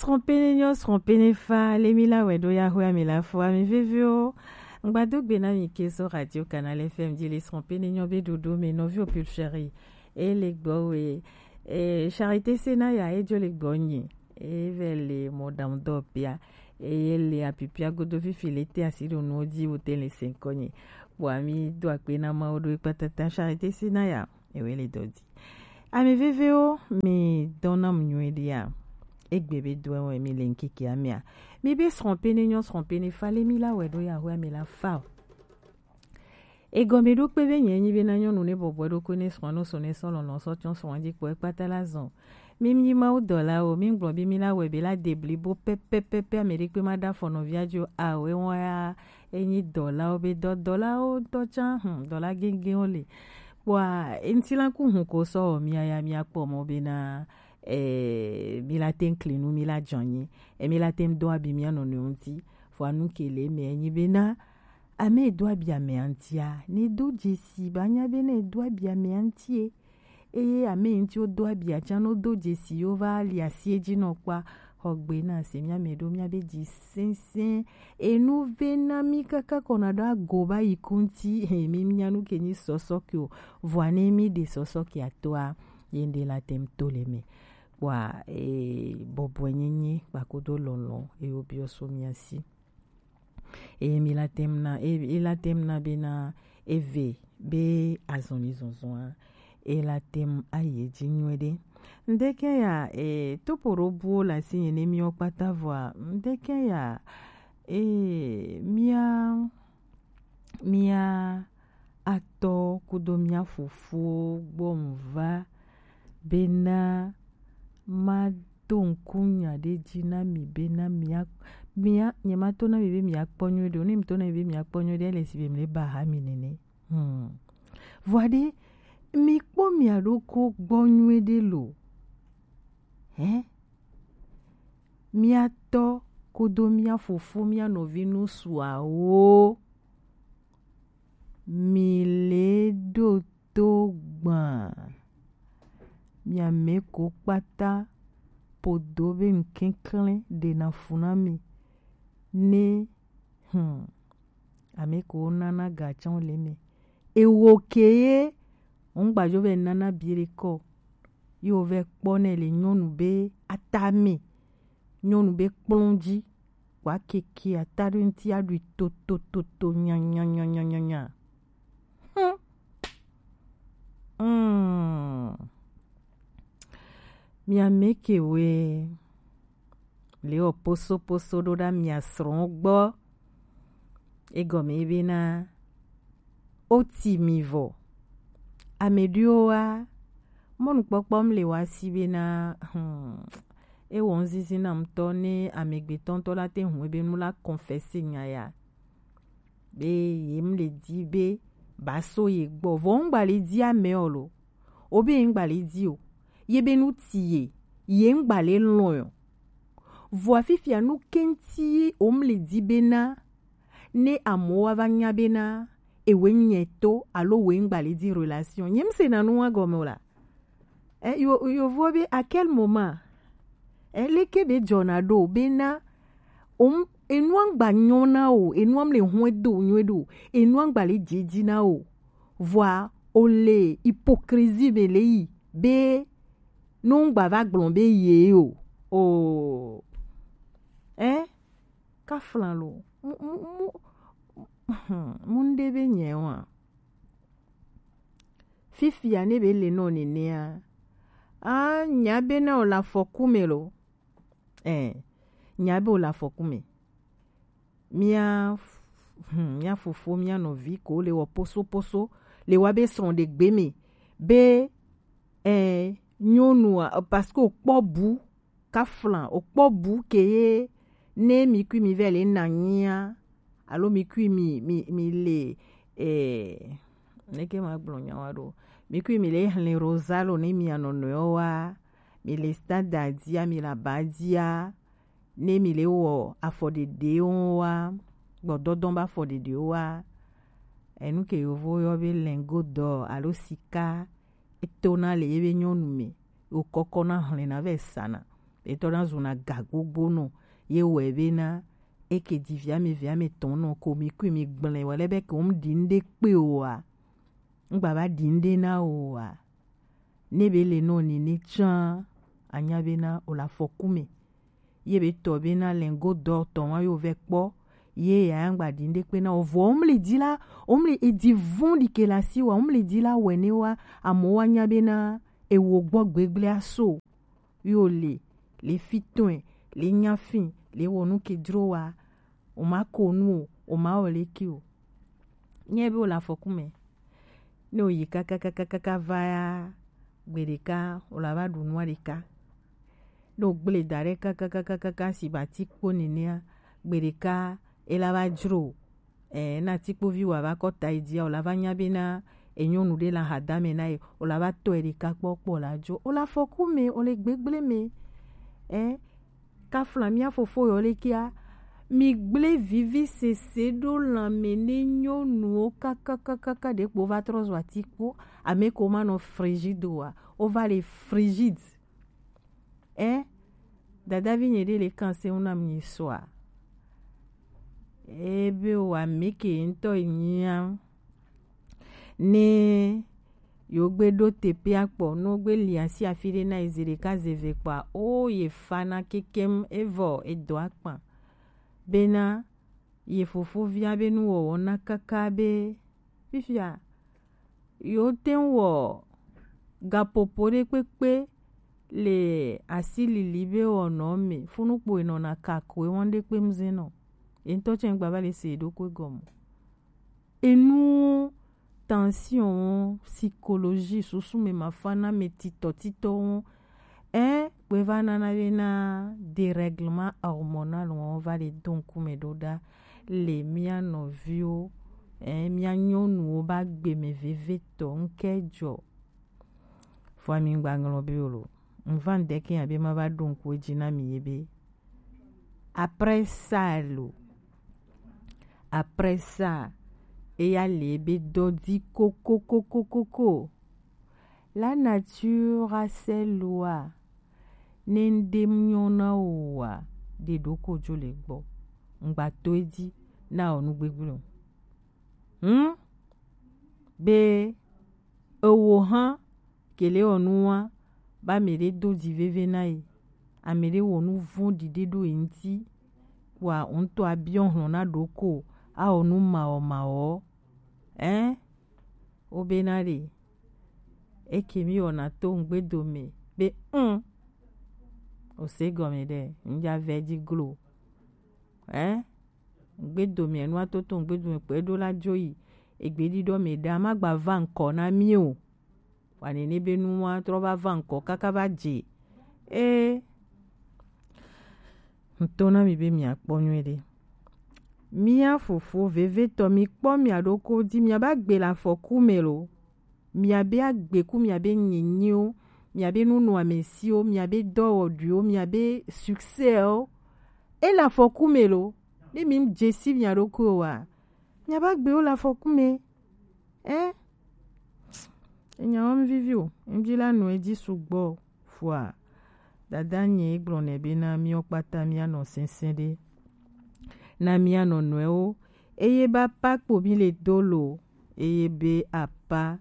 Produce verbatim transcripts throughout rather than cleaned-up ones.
Srɔ̃pene nyɔ, srɔ̃pene fa, le mi la wɛ ɖo ya hwe ami la fo ami veviwo. Ŋgbado gbe na mi ke so Radio Canal F M di le srɔ̃pene nyɔ be ɖoɖo me nɔvi o pulcheri. E le gbɔ we, e, Charité Senaya e jo le gbɔ nyi. E vɛ le mɔɖaŋudɔwɔƒea. Eye le apipia godo fifi le te asi ɖo nuwo di wo te le se ŋkɔ nyi. Kpɔ ami do akpe na Mawu ɖo ekpatata Charité Senaya. Ewe le dɔ di. Ami veviwo, mi dɔna mu nyuie ɖia. Egbe be do ewe mi le ŋkeke amia. Mi be srɔ̃pene nyɔ srɔ̃pene fa le mi la wɛ ɖo ya hwe ami la fa o. Egɔme ɖo kpe be nyɛ nyi be na nyɔnu ne bɔbɔe ɖo ko ne srɔ̃ no so ne sɔ lɔlɔ sɔ tsɔ srɔ̃ di kpɔ ekpata la zɔn. Mi mi Mawu dɔlawo, mi gblɔ be mi la wɛ be la de blibo pɛpɛpɛpɛ ame ɖe kpe ma ɖa fɔ nɔvia jo awe wɔn ya enyi dɔlawo be dɔ dɔlawo ŋutɔ tsã, hmm, dɔla gɛgɛwo le. Kpɔa, eŋti la ku hun ko sɔ wɔ mia ya mia kpɔ mɔ bena, eh, mi la te ŋkli nu mi la dzɔ anyi, e mi la te do abi mia nɔnɔewo ŋti. Vɔa nu ke le eme enyi bena, ame do abi ame ŋtia, ne do dzesi ba nya bena do abi ame ŋti e. Eye ame ŋti wo do abi atsã no do dzesi yo va li asi edzi nɔ kpɔa, xɔgbe na se mia me ɖo mia be dzi sɛnsɛn. Enu ve na mi kaka kɔ na ɖo ago ba yi ku ŋti. He, mi nya nu ke nyi sɔsɔ ke o. Vɔa ne mi ɖe sɔsɔ ke atoa, ye ŋɖe la tem to le me. Kpɔa, e, bɔbɔe nyenye kpakodo lɔlɔ, e wo biɔ so mia si. Eye mi la tem na, e, e la tem na bena eve be azɔli zɔzɔa, e la tem ayi edzi nyuie ɖe. Ŋdeke ya, e, topo ɖo buwo le asi nye ne miwo kpata vɔa, ŋdeke ya, e, mia, mia atɔ kudo mia fofowo gbɔ mu va bena ma do ŋku nya ɖe dzi na mi bena mia, mia, nye ma to na mi be mia kpɔ nyuie ɖe o. Ne mi to na mi be mia kpɔ nyuie ɖe, ele si be mi le ba ha mi nene. Hmm. Vɔa ɖe, mi kpɔ mia ɖoko gbɔ nyuie ɖe lo. Hɛ? Mia tɔ kudo mia fofo, mia nɔvi nu suawo. Mi le ɖo to gbã. Mia me ko kpata podo be ŋkeklẽ ɖena fu na mi. Ne, hmm, ame ko nana ga tsã le me. Ewo ke ye, ŋgbajo be nana bi ɖe kɔ. Ye wo vɛ kpɔ nɛ le nyɔnu be atame, nyɔnu be kplɔn ji, wa keke ata ɖo ŋti aɖui totototo nyanyanyanyanya. Hmm. Hmm. Mia me ke we le o poso poso ɖo ɖa mia srɔ̃ gbɔ. Egɔme ye bena, o ti mi vɔ. Ame ɖewo wa, mɔnukpɔkpɔ m le wa si bena, hmm, ewɔ ŋzizi na ŋutɔ ne amegbetɔ ŋutɔ la te ŋu ebe nu la confesse nya ya. Be ye m le di be ba so ye gbɔ. Vɔ ŋgba le di ame o lo. O be ŋgba le di o. Ye be nu ti ye, ye ŋgba le lɔn o. Vɔa fifia nu kɛnti o m le di bena ne amewo wa va nya bena ewe nyɛ to alo we ŋgba le di relation. Nye m se na nu wa gɔme o la. E, yo, yo vo be à quel moment? E, leke be dzɔna ɖo bena o m, enua ŋgba nyɔ na o, enua m le hɔn do nyuie ɖo, enua ŋgba le dzedzi na o. Vɔa o le hypocrisie me le yi be no ŋgba va gblɔ be ye o. O. E? Kaflan lo. Mu, mu, mu, mu ŋɖe be nyɛ wa. Fifia ne be le nɔ nenea. A, nya be na o la fɔku me lo. Eh, nya be o la fɔku me. Mia, hmm, mia fofo, mia nɔvi ko le wɔ poso poso, le wa be srɔ̃ ɖe gbe me. Be, eh, nyɔnua, parce que o kpɔ bu, kaflan, o kpɔ bu ke ye ne mi kui mi vɛ le na nyia, alo mi kui mi, mi, mi le, eh, neke ma gblɔ nya wa ɖo. Mi kui mi le hlẽ rosa lo ne mi anɔnɔewo wa, mi le standard dia, mi le aba dia, ne mi le wɔ afɔɖeɖewo wa, gbɔdɔdɔ ba afɔɖeɖewo wa, enu ke yovo yɔ be lingot d'or alo sika, etona le ye be nyɔnu me, wokɔkɔna hlẽna vɛ sana. Etɔ na zuna ga gbogbo nɔ ye wɛ be na eke di viame viame tɔn nɔ ko mi kui mi gblẽ wɛ lɛ be ke wo mu ɖi ŋɖe kpe o a. Ŋgba va ɖi ŋɖe na o a. Ne be le nɔ ni ne tsã anya be na o la fɔku me. Ye be tɔ be na lengo dɔ tɔ wa yo vɛ kpɔ. Ye ya ŋgba ɖi ŋɖe kpe na o vɔ o mu le di la o mu le edi vɔn ɖi ke la si wa o mu le di la wɛ ne wa amo wa nya be na ewo gbɔ gbegble aso. Yo le le fi tɔn le nya fi le wɔ nu ke dro wa o ma ko nu o o ma wɔ le ki o. Nye be o la fɔku me. Ne o yi kakakakaka va ya gbe ɖeka o la va ɖu nua ɖeka. Ne o gble da ɖe kakakakaka si ba ti kpo nenea gbe ɖeka e la va dzro o. Eh, na ti kpovi wa va kɔ ta yi dia o la va nya be na e nyɔnu ɖe la ha da me na ye o la va tɔ e ɖeka kpɔ kpɔ la dzo o la fɔku me o le gbegble me. Eh, kafla mia fofo yɔ le kia mi gble vivi sese ɖo lanme ne nyɔnuwo kakakakaka ɖe kpo va trɔ zɔ atikpo ame ko ma nɔ frigide wa o va le frigide. Eh, dadavi nye ɖe le kan se ŋu na mi sɔa. Ebe o ame ke ŋutɔ nyia ne yewo gbe ɖo teƒea kpɔ ne wogbe li asi afi ɖe na ye zi ɖeka ze eve kpɔa o ye fana kekem evɔ edɔ akpa bena ye fofovia be nuwɔwɔ na kaka be fifia yewo te ŋu wɔ gaƒoƒo ɖe kpekpe le asi lili be wɔnɔ me funukpo enɔna kakoe wɔn ɖe kpe ŋuze nɔ ye ŋutɔ tsɛ ŋgba va le se ɖokui gɔme. Enuwo, tension wo, psychologie, susu me mafa na me titɔ titɔ wo. Ɛ kpe va nana be na dérèglement hormonal wo va le do ŋkume ɖo ɖa le mía nɔviwo ɛ mía nyɔnuwo ba gbe me vevetɔ ŋke jɔ. Fua mi ŋgba ŋlɔ be o lo. Ŋva ŋdeke ya be ma va ɖo ŋku edzi na mi ye be après ça lo. Après ça, eya le ebe dɔ di kokokokokoko. La nature a ses lois. Ne ŋɖe mu nyɔ na o wa, ɖe ɖo ko dzo le gbɔ. Ŋgba to edzi na o nu gbegblẽ o. Hmm? Be ewo hã kele wɔ nu wa ba ame ɖe do dzi veve na ye ame ɖe wɔ nu vɔ̃ɖi ɖe ɖo ye ŋuti wa ŋutɔ abiɔ hlɔ̃ na ɖoko awɔ nu mawɔmawɔ ɛ wobena ɖe eke mi wɔna to ŋgbedo me be ŋ ose gɔme ɖe ŋdza vɛ dzi glo ɛ ŋgbedo me nua toto ŋgbedo me kpɛ ɖo la dzo yi egbeɖiɖɔ me ɖa ma gba va ŋkɔ na mi o wa nene be nua trɔ va va ŋkɔ kaka va dze e ŋto na mi be miakpɔ nyuie ɖe mia fofo vevetɔ mi kpɔ mia ɖoko di mia ba gbe le afɔku me lo miabe agbeku miabe nyinyiwo miabe nunɔamesiwo miabe dɔwɔɖuiwo miabe succès o ele afɔku me lo ne mi dze si mia ɖokuiwo wa miabe agbewo le afɔku me ɛ enyawo mi vivi o ŋdi la nɔ edzi sugbɔ o fua dada nye gblɔ nɛ be na miɔ kpata mianɔ sɛsɛ ɖe na mia nɔnɔewo eye be apa kpo mi le do lo eye be apa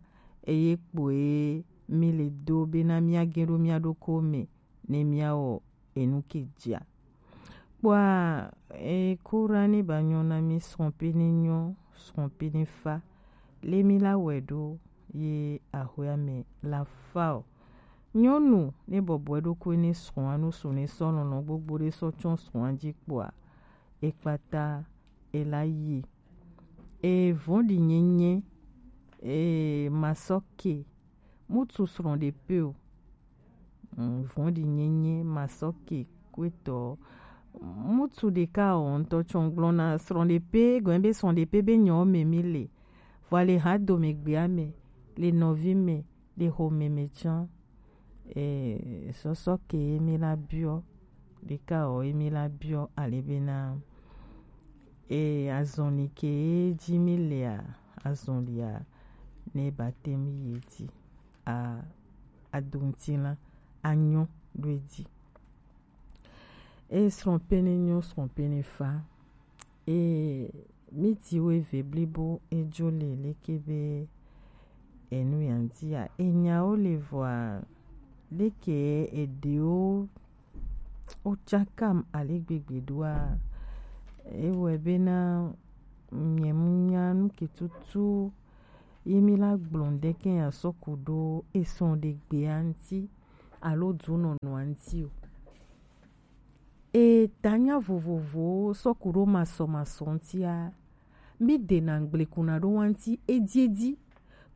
eye kpoe mi le do be na mia ge ɖo mia ɖoko me ne miawɔ enu ke dzia kpɔa e kura ne ba nyɔ na mi srɔ̃ pe ne nyɔ srɔ̃ pe ne fa le mi la wɛ ɖo ye ahoya me la fa o nyɔnu ne bɔbɔe ɖokui ne srɔ̃a nu su ne sɔ lɔlɔ gbogbo ɖe sɔ tsɔ srɔ̃a dzi kpɔa ekpata ela yi e vɔ̃ɖi nyenye e masɔ ke mutu srɔ̃ ɖe pe o vɔ̃ɖi nyenye masɔ ke kuetɔ mutu ɖeka o ŋutɔ tsɔ gblɔna srɔ̃ ɖe pe gɔn be srɔ̃ ɖe pe be nyɔ me mi le vɔ le ha do me gbea me le nɔvi me le xome me tsã e sɔsɔ ke emi la biɔ ɖeka o emi la biɔ ale bena e azɔli ke dzi mi lea azɔlia ne ba te mi yi dzi a adoŋutilã anyɔ ɖo edzi E srɔ̃ pene nyo, srɔ̃ pene fa. E mi ti wo eve blibo, e jo le leke be enu ya ŋuti ya. E nyawo le vɔa, leke eɖewo wo tsakam ale gbegbe ɖoa, ewɔe bena nye mu nya nu ke tutu ye mi la gblɔ ŋɖe ke ya sɔ ku ɖo esrɔ̃ɖegbea ŋuti alo dunɔnɔa ŋuti o. E tanya vovovowo sɔ ku ɖo masɔmasɔ ŋutia, mi dena ŋgblekuna ɖo wa ŋuti ediedi.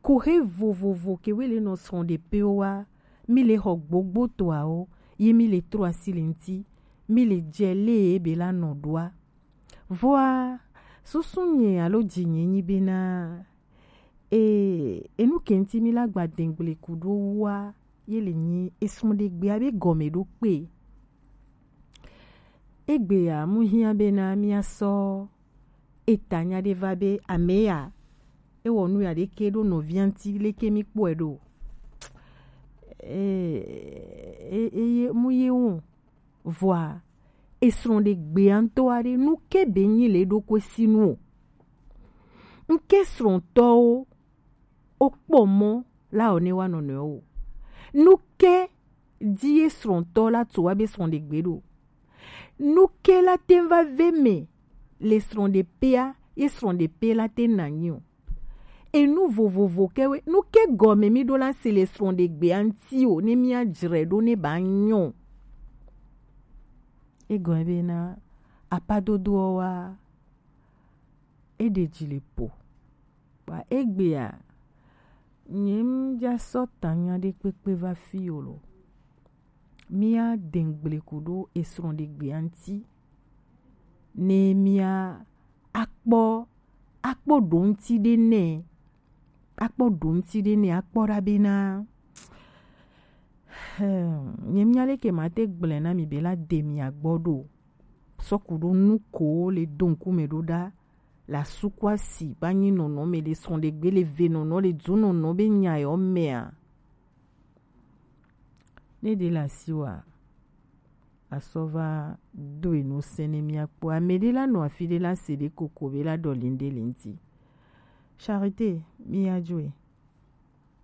Kohe vovovo ke we le nɔ srɔ̃ɖepewo wa, mi le xɔ gbogbo toawo, ye mi le trɔ asi le ŋuti, mi le dze le ye be la nɔ ɖoa. Vɔa, susu nye alo dzi nye nyi bena, e, enu ke ŋuti mi la gba dengble ku ɖo wa, ye le nyi esrɔ̃ɖegbea be gɔme ɖo kpe. Egbea mu hiã bena mia sɔ eta nya ɖe va be ame ya, ewɔ nu ya ɖeke ɖo nɔvia ŋuti, leke mi kpɔe ɖo. E, e, eye mu ye wo. Vɔa, esrɔ̃ɖegbea ŋutɔ aɖe, nu ke be nyi le eɖokui si nu o. Ŋke srɔ̃tɔwo wo kpɔ mɔ la o ne wa nɔnɔewo o. Nu ke di ye srɔ̃tɔ la tu wa be srɔ̃ɖegbe ɖo. Nu ke la te va ve me le srɔ̃ɖepea, ye srɔ̃ɖepe la te na nyi o. Enu vovovo ke we, nu ke gɔme mi ɖo la se le srɔ̃ɖegbea ŋuti o, ne mia dzre ɖo ne ba nyɔ. Egɔme bena apadodoɔ wa, eɖe dzi le po. Ba egbea, nye ŋdza sɔ tanya ɖe kpekpe va fi o lo. Mia dengble ku ɖo esrɔ̃ɖegbea ŋuti. Ne mia akpɔ, akpɔ ɖo ŋuti ɖe nɛ, akpɔ ɖo ŋuti ɖe nɛ, akpɔ ɖa bena, hmm, nye mia leke ma te gblẽ na mi be la de mia gbɔ ɖo. Sɔ ku ɖo nu ko le do ŋkume ɖo ɖa, la suku asi ba nyi nɔnɔ me le srɔ̃ɖegbe le ve nɔnɔ le du nɔnɔ be nya yɔ mea. Ne ɖe le asi wa, asɔ va do enu se ne mia kpɔ. Ame ɖe la nɔ afi ɖe la se ɖe koko be la ɖɔli ŋɖe le ŋuti. Charité, mi ya dzoe.